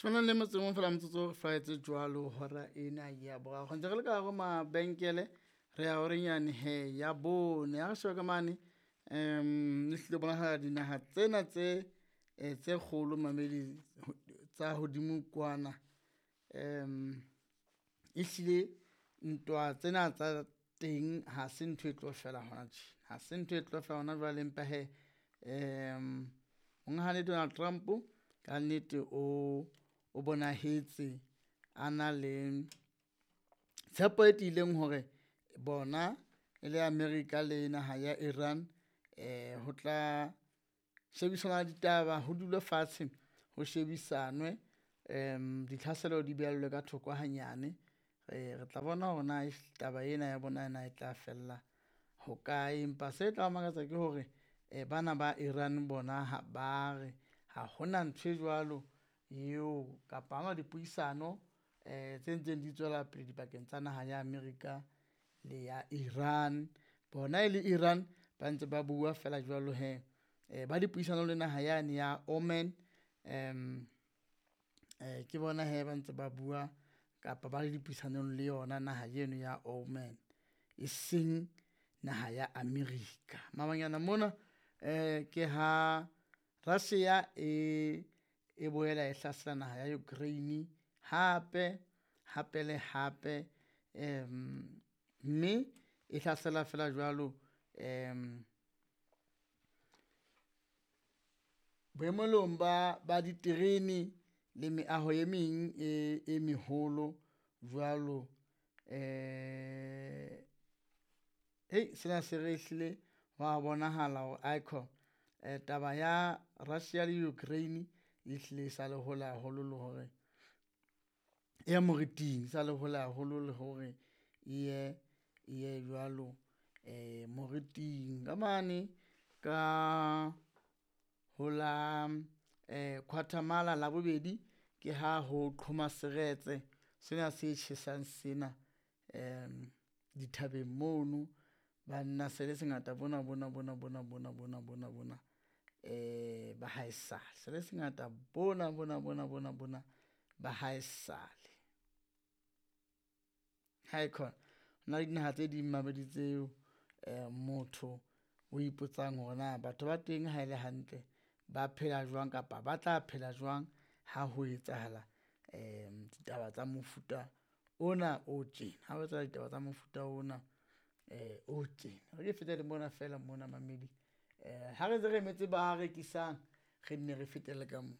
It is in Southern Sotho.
Tshwanang le motse mong fela motsotso re flaetse jwalo hora ena ya boraro. Ntse re le ka hare ho mabenkele re ya horenyane he ya bone. Ha re sheba ka mane ehlile bonahala dinaha tsena tse tse kgolo mamedi tsa hodimo kwana. Ehlile ntwa tsena tsa teng ha se ntho e tlo fela hona tje, ha se ntho e tlo fela hona jwale empa hee monghadi Donald Trump kannete o bonahetse a na le tshepo e tiileng hore bona e le America le naha ya Iran ho tla shebisana ditaba, ho dulwe fatshe ho shebisanwe ditlhaselo di behellwe ka thoko hanyane. Re tla bona hore na taba ena ya bona na e tla fella hokae, empa se tla makatsa ke hore bana ba Iran bona ha ba re ha hona ntho e jwalo eo kapa ha hona dipuisano tse ntseng di tswela pele dipakeng tsa naha ya America le ya Iran. Bona e le Iran ba ntse ba bua feela jwalo hee ba dipuisano le naha yane ya Oman ke bona hee ba ntse ba bua kapa ba le dipuisanong le yona naha eno ya Oman, e seng naha ya America. Mabanyana mona ke ha Russia e boela e hlasela naha ya Ukraine hape, hape le hape mme e hlasela feela jwalo boemelong ba diterene le meaho e meng e meholo jwalo. Sena se re ehlile hwa bonahala hore aikhona taba ya Russia le Ukraine ehlile e sa le hole haholo le hore, e ya moriting e sa le hole haholo le hore e ye jwalo moriting. Ka mane ka ho la Labobedi ke ha ho qhoma seretse sena se tjhesang sena dithabeng mono. Banna se le sengata bona bona bona bona bona bona bona bona ba haesale, se le sengata bona bona bona bona bona ba haesale. Haekhona hona le dinaha tse ding mamedi tseo motho o ipotsang hore na batho ba teng ha ele hantle ba phela jwang kapa ba tla phela jwang ha ho etsahala ditaba tsa mofuta ona o tjena, ha ho etsahala ditaba tsa mofuta ona o tjena. E re ke fete le mona feela mona mamedi ha re ntse re emetse ba rekisang, re nne re fetele ka mona.